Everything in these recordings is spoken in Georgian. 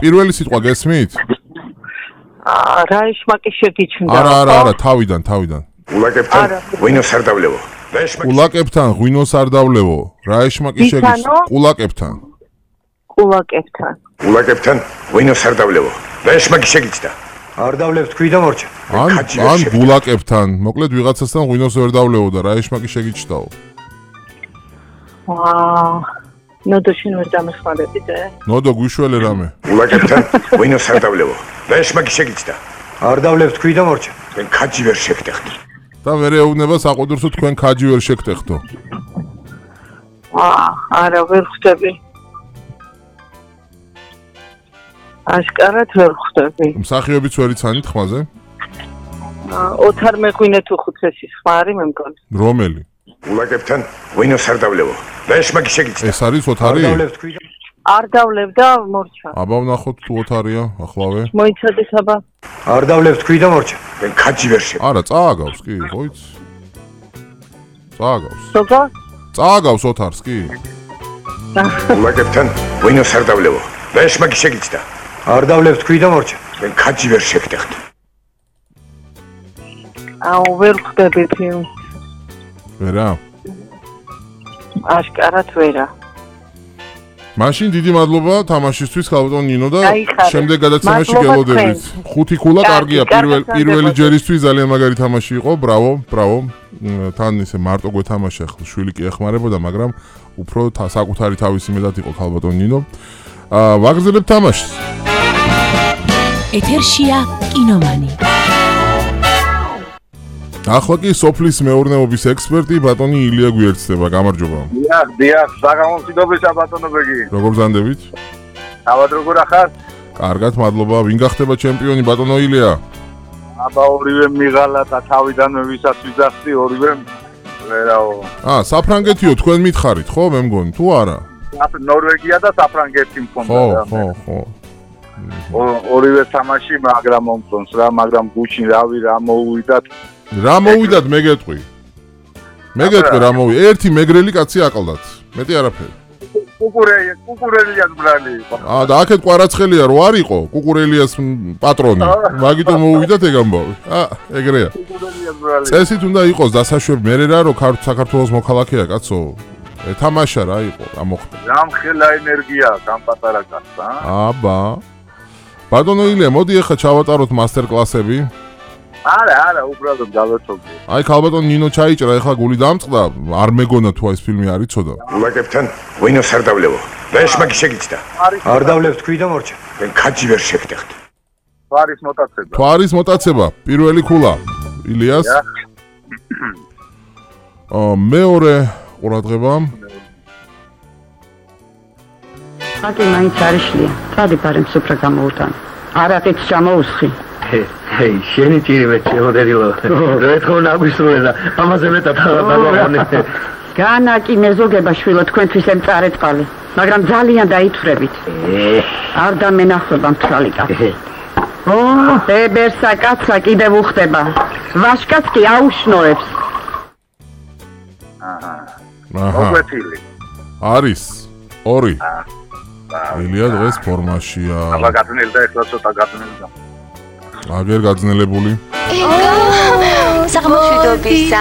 პირველი სიტყვა გესმით? რაიშმაკი შეგიჩნდა. არა, თავიდან. ულაკებთან ღვინოს არ დავლევო. ულაკებთან ღვინოს არ დავლევო. რაიშმაკი შეგიჩნდა. ულაკებთან. ულაკებთან ღვინოს არ დავლევო. რაიშმაკი შეგიჩნდა. არ დავლევ თქვი და მორჩა. ან გულაკებთან. მოკლედ ვიღაცასთან ღვინოს ვერ დავლევო და რაიშმაკი შეგიჩნდაო. ნოდო შენ ვერ დამეხმარებიდე? ნოდო გვიშველე რამე. ულაკებთან ღვინოს არ დავლევო. რაიშმაკი შეგიჩნდა. არ დავლევ თქვი და მორჩა. თქვენ ქაჯი ვერ შეგტეხთ. და ვერ ეუბნება საყუდროსო თქვენ ქაჯი ვერ შეგტეხთო. არა ვერ ხვდები. აშკარად ვერ ხვდები. მსახიობიც ვერ იცანით ხმაზე? ოთარ მეღვინე თუ ხუთესის ხმარი მე მგონი. რომელი? ულაკებთან ღვინოს არ დავლევო. რაიშმაკი შეგიჩნდა. ეს არის ოთარი? არ დავლევ და მორჩა. აბა ვნახოთ თუ ოთარია ახლავე. მოიცადეს აბა. არ დავლევ თქვი და მორჩა. თქვენ ქაჯი ვერ შეგ. არა, წააგავს კი, ხოიც. წააგავს. სოფა? წააგავს ოთარს კი. ულაკებთან ღვინოს არ დავლევო. რაიშმაკი შეგიჩნდა. არ დავლევ თქვი და მორჩა. თქვენ ქაჯი ვერ შეგტეხთ. ვერ ხვდები ფილმს. ვერა? აშკარად ვერა. მაშინ დიდი მადლობა თამაშისთვის ქალბატონ ნინო და შემდეგ გადაცემაში გელოდებით. 5 ქულა კარგია პირველი ჯერისთვის ძალიან მაგარი თამაში იყო. ბრავო. თან ისე მარტო გვეთამაშა ახლა შვილი კი ეხმარებოდა, მაგრამ უფრო საკუთარი თავისი მეტად იყო ქალბატონ ნინო. ვაგრძელებთ თამაშს. ეთერშია კინომანი. ახლა კი სოფლის მეურნეობის ექსპერტი ბატონი ილია გვიერთდება. გამარჯობა. დიახ, საგამომციდობისა ბატონო ბეგი. როგორ ბრძანდებით? თავად როგორ ახარ? კარგად, მადლობა. ვინ გახდება ჩემპიონი ბატონო ილია? აბა ორივე მიღალა და თავიდანვე ვისაც ვიძახდი ორივე ვერაო. საფრანგეთიო თქვენ მითხარით, ხო, მე მგონი, თუ არა? ნორვეგია და საფრანგეთი მქონდა. ხო. ორივე თამაში მაგრამ მომწონს რა, მაგრამ გუჩინ რა მოუვიდათ. რა მოვიდათ მე გეტყვი რა მოვი ერთი მეგრელი კაცი აყლდათ მეტი არაფერი კუკურელიას ბრალი იყო და აქეთ ყვარაცხელია რო არ იყო კუკურელიას პატრონი მაგითო მოვიდათ ეგ ამბავი ეგრეა კუკურელიას ბრალი წესით უნდა იყოს დასაშვებ მე რა რო საქართველოს მოქალაქეა კაცო ეთამაშა რა იყო რა მოხდა რამხელა ენერგია გამ პატარა კაცსა აბა ბატონო ილია მოდი ახლა ჩავატაროთ მასტერ კლასები არა, უბრალოდ გავეთობდი. აი, ქალბატონ ნინო ჩაიჭრა, ეხლა გული დამწყდა, არ მეგონა თუ ეს ფილმი არ იცოდა. ულაკებთან ღვინოს არ დავლევო. რაიშმაკი შეგიჩნდა. არ დავლევ თქვი და მორჩა. თქვენ ქაჯი ვერ შეგტეხთ. თვარის მოტაცება, პირველი ქულა. ილიას. მეორე ყურადღება. ხატი მაინც არიშლია. სადი პარემ სუფრა გამოუტანა. არაყით ჩამოუსხი. ჰეი, შენი ტირივე შეოდერილო. რეთქო ნაგვისრულა. ამაზე მეტად აღარ განაკი მეზოგება შვილო თქვენთვის ემწარეწყალი, მაგრამ ძალიან დაითვრებით. არ დამენახება მთვალი კაცი. ბებერსა კაცსა კიდევ უხდება. ვაშკაც კი აუშნოებს. მოგვეთილი. არის 2. ილია დღეს ფორმაშია. აბა გაწნილდა ახლა ცოტა გაწნილდა. აგერ გაძნელებული. საღამოშვიდობისა.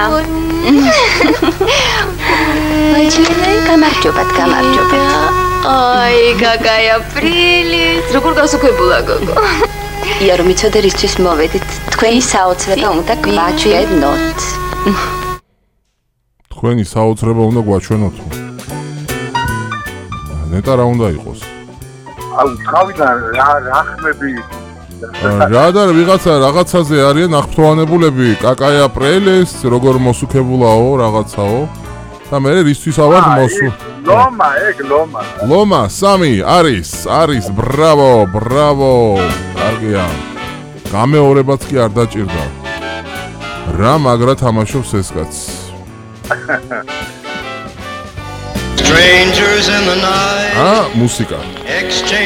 გამარჯობათ. აი, გაგაია პრილის. როგორ გასუქებულა გოგო? ია რომ იცოდე რისთვის მოვედით. თქვენი საოცრება უნდა გვაჩვენოთ. თქვენი საოცრება უნდა გვაჩვენოთ. ნეტა რა უნდა იყოს? აუ, თავიდან რა ხმები რა და რაღაცაზე არიან აღფრთოვანებულები კაკაია პრელეს როგორ მოსუქებულაო რაღაცაო და მე რისთვის ავარ მოსუ ლომა 3 არის ბრავო კარგია გამეორებაც კი არ დაჭირდა რა მაგრა თამაშობს ეს კაც Strangers in the night. მუსიკა